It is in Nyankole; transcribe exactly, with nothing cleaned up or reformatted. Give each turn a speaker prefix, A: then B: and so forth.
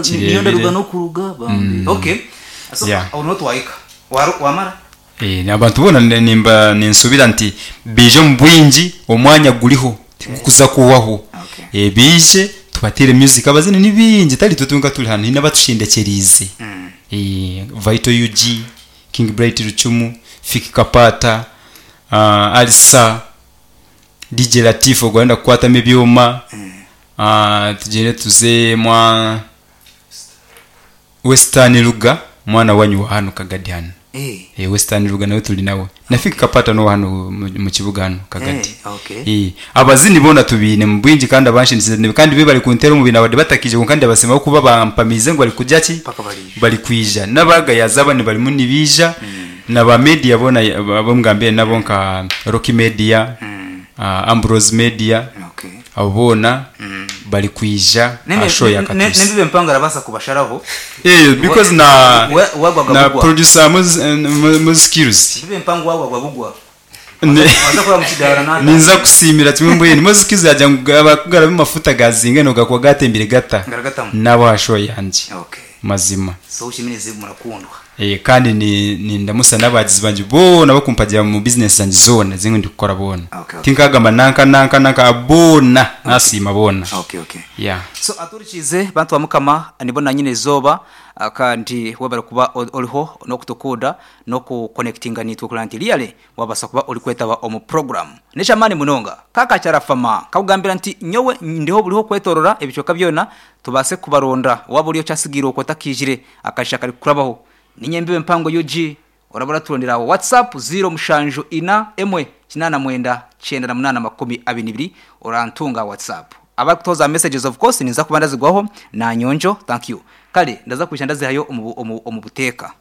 A: Niyo ndaruga n'okuruga bambi. Okay, so
B: Yeah.
A: aho niho twahika. Waru- wamara.
B: Eh, abantu boona ne- nimba ninsubira nti biije omu bwingi, omwanya guriho tigukuza kuhwaho.
A: Okay.
B: Eh, biije tubateere music, abazini ni bingi, tari itwe twenka turi hanu, hiine abatushendekyereize. Eh, Vital U G, King Bright Rucumu, Fik Kapata, uh, Alisa, D J Latif ogwo arenda kukwatamu ebyoma, uh, tugyende tuze mwa Western Ruga, mwana wanyu wa hanu Kagadi hanu.
A: Eh.
B: Eh, Western Ruga nawe turi nawe, na Fik Kapata no hano mu mu kibuga hano Kagadi.
A: Eh, okay.
B: Eh, abazini bona tubiine mu bwingi kandi abanshindikize kandi be bari kuntera omu bintu abade batakije, kandi abasema kuba bampamize ngu bari kujya ki.
A: Paka barije.
B: Bari kwija n'abagayaza bani barimu nibija na ba media bona abo ngambire nabo nka Rocky Media, uh, Ambrose Media.
A: Okay.
B: Abo bona bari kwija
A: Nembe-
B: asho ya
A: ne-
B: Katusi.
A: Nembibe mpango arabasa kubasharaho.
B: Eh, because na
A: We- wagwaga
B: na
A: bugwa.
B: producer mu mu- mu skills.
A: Mbibe mpango wagwagwa bugwa.
B: Ne-
A: Waza kora mu kidara nanda.
B: Ninza kusimira kimwe mbwene mo skills yajya ngo amafuta gazinga no gakwa gatembere gata.
A: Ngaragatamu.
B: Nabo hasho yanje.
A: Okay.
B: Mazima.
A: So ushimirize, murakundwa.
B: Eh, kandi ni, ni ndamusa n'abagizi banje bona bakumpagira mu business zanje zona zimwe ndi gukora bona.
A: Okay, okay.
B: Tinkagamba nanka nanka nanka, bona nasima bona.
A: Okay okay.
B: Yeah.
A: So aturikize bantu ba Mukama, nibona nyine zoba, ah, kandi webare kuba o- oriho nokutukunda nokuconnectinga nitwe kurora nti really wabasa kuba ori kwetaba omu program neshamani munonga. Kaka kyarafama kakugambira nti nyowe ndiho buriho kwetorora ebicweka byona tubase kubaronda waba uriyo kyasigiire okwo otakijire akasha kari kurabaho. Ninyembiwe mpango U G orabura turondera WhatsApp zero mushanju ina emwe kinana mwenda cyenda na munana makumi abiri n'ibiri, orantunga WhatsApp. Abakutoza messages, of course ninza kuba ndazigwaho na nyonjo. Thank you. Kale ndaza kwisha ndazihayo omu omu omu buteeka.